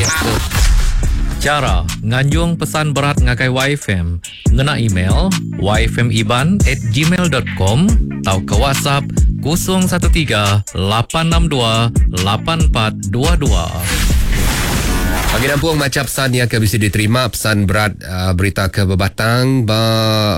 Facebook. Chara nganjung pesan berat ngagai YFM ngena email yfmiban at gmail dot com tauka WhatsApp 013 862 8422. Pagi nampung macha pesan iya ke bisi diterima pesan berat uh, berita ke bebatang ba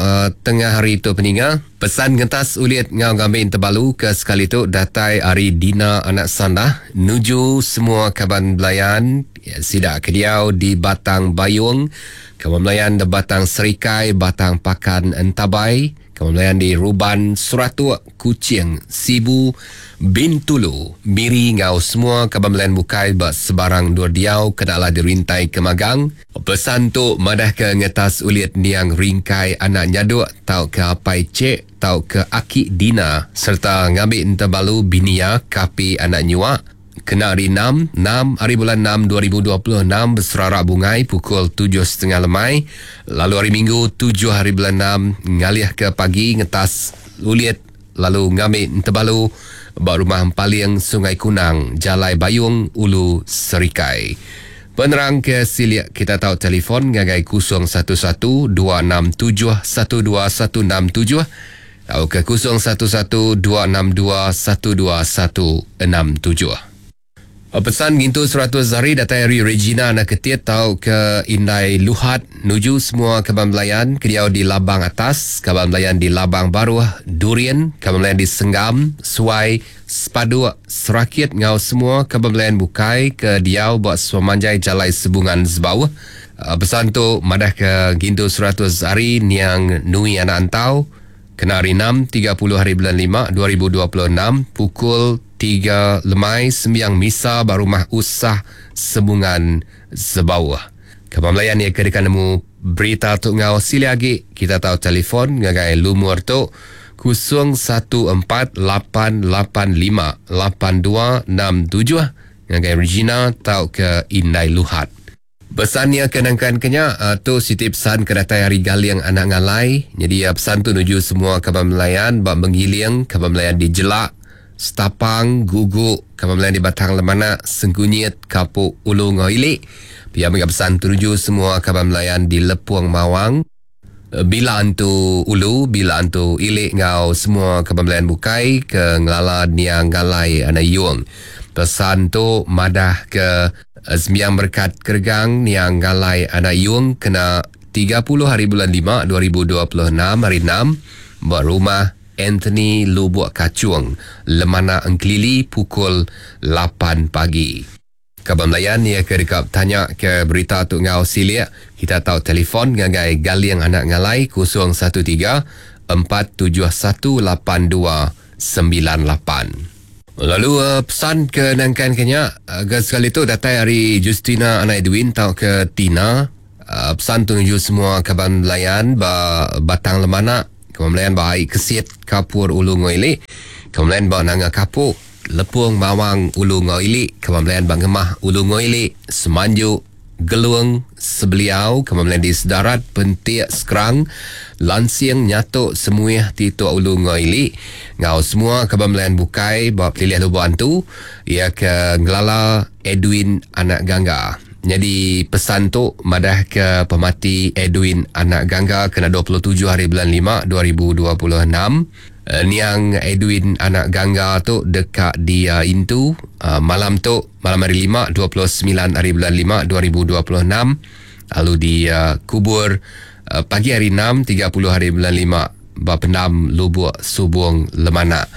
uh, tengah hari tu peninga. Pesan ngentas ulit enggau ngambi entebalu ke sekali tu datai ari Dina anak Sandah nuju semua kaban belayan sida ke diau di Batang Bayong, kaban belayan di Batang Serikai, Batang Pakan Entabai, kaban belayan di Ruban, Seratuk, Kuching, Sibu, Bintulu, Miri enggau semua kaban belayan bukai ba sebarang endur diau ke enda alah dirintai ke magang. Pesan tu madahka ngetas ulit niang Ringkai anak Nyaduk tauka Apai Chek tauka Aki Dina sereta ngambi entebalu bini iya Kapi anak Nyuak kena hari Enam, enam aribulan enam 2026 beserara bungai pukul tujuh setengah lemai lalu hari Minggu tujuh haribulan enam ngalihka pagi ngetas ulit lalu ngambi entebalu ba Rumah Empaling Sungai Kunang, Jalai Bayung, Ulu Serikai. Penerang ke silik kita tau telefon ngagai 011 267 12167 tauka 011 262 12167. Pesan ngintu 100 hari datai ari Regina anak Ketit tauka Indai Luhat nuju semua kaban belayan ke diau di Labang Atas, kaban belayan di Labang Baruh, Durin, kaban belayan di Senggam, Suai, Sepaduk, Serakit enggau semua kaban belayan bukai ke diau ba sepemanjai Jalai Sebungan Sebauh. Pesan tu madahka ngintu 100 hari niang Nui anak Antau kena hari Enam, 30 hari bulan Lima, 2026 pukul 3 lemai sembiang misa ba Rumah Usah Sebungan Sebauh. Kaban belayan iya ke deka nemu berita tu enggau silik agi, kita tau telefon ngagai lumur tu 0148858267 ngagai Regina tauka Indai Luhat. Pesan iya ke nangkan ke nya, tu siti pesan ke datai ari Galing anak Ngalai. Nyadi pesan tu nuju semua kaban belayan ba Menggiling, kaban belayan di Jelak, Setapang, Gugu, kaban belayan di Batang Lemanak, Sengkunyit, Kapuk, Ulu enggau Ili. Pia mega pesan tu nuju semua kaban belayan di Lepung Mawang, Bila Antu Ulu, Bila Antu Ili enggau semua kaban belayan bukai ke ngelala niang Ngalai anak Yung. Pesan tu madah ke sembiang berekat keregang niang Ngalai anak Yung kena 30 hari bulan 5 2026 hari 6 ba rumah Anthony Lubuk Kachung, Lemanak Engkelili pukul 8 pagi. Kaban belayan iya ke deka betanya ke berita tu enggau silik, kita tau telefon ngagai Galing Anak Ngalai 013 471 8298. Lalu pesan ke nangkan ke nya ga sekali tu datai ari Justina Anak Edwin tauka Tina. Pesan tu nuju semua kaban belayan ba Batang Lemanak, kaban belayan ba Ai Kesit, Kapur Ulu enggau Ili, kaban belayan ba Nanga Kapuk, Lepung Mawang Ulu enggau Ili, Kaban Belayan ba Ngemah Ulu enggau Ili, Semanju, Gelung, Sebeliau, Kaban Belayan di Sedarat, Pentik, Skrang, Lansing, Nyatok, Semuih, Titok Ulu enggau Ili, enggau semua kaban belayan bukai ba Pelilih Lubok Antu, iya ke ngelala Edwin anak Gangga. Nyadi pesan tu madahka pemati Edwin anak Gangga kena 27 hari bulan 5 2026. Niang Edwin anak Gangga tu deka diintu malam tu, malam hari Lima, 29 hari bulan 5 2026 lalu dikubur pagi hari Enam, 30 hari bulan 5 ba pendam Lubuk Subung Lemanak.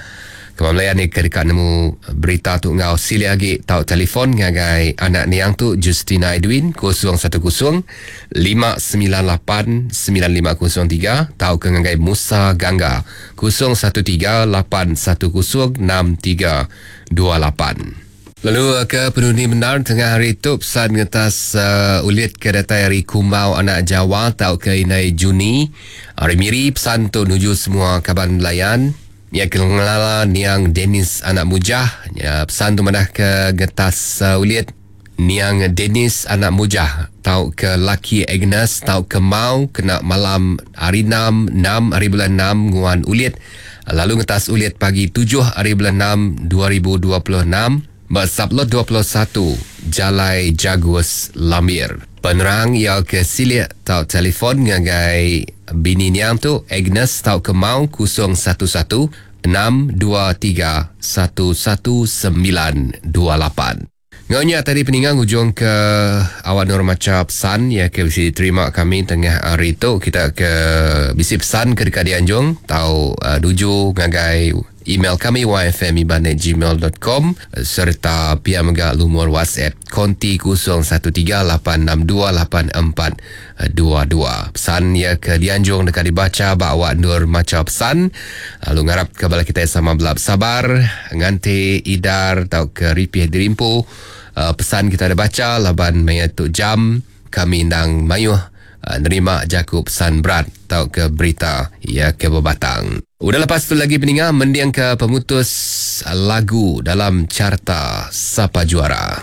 Keba Melayan ni ke deka nemu berita tu enggau silik agi tau telefon ngagai anak niang tu Justina Edwin 010 598 9503 tauka ngagai Musa Gangga 013 810 6328. Lalu ke penudi bendar tengah hari tu pesan ngetas uh, ulit ke datai ari Kumbau Anak Jawa tauka Indai Juni ari Miri pesan tu nuju semua kaban belayan Iya ke ngelala niang Dennis Anak Mujah ya, pesan tu madah ke ngetas uh, ulit Niang Dennis anak Mujah tauka laki Agnes tauka Mau kena malam hari Enam, enam aribulan enam nguan ulit lalu ngetas ulit pagi tujuh aribulan enam 2026. ba Sublot 21, Jalai Jagus, Lambir. Penerang iya ke silik tau telefon ngagai bini niang tu Agnes tauka Mau 011 623 11928. Ngau nya tadi peninga ngujung ke awak nur macha pesan ya ke bisi diterima kami tengah hari tu. Kita ke bisi pesan ke dekat dianjung tau duju ngagai email kami yfmiban@gmail.com serta pia mega lumur WhatsApp konti 0138628422. Pesan ya ke dianjung dekat dibaca ba awak nur macha pesan. Lalu ngarap ke bala kita sama belap sabar nganti idar tau ke ripih dirimpu pesan kita ada baca laban maya tu jam kami ndang mayuh nerima jaku pesan berat tau ke berita ya ke bebatang. Udah lepas tu lagi peninga mending ke pemutus lagu dalam carta Sapa Juara.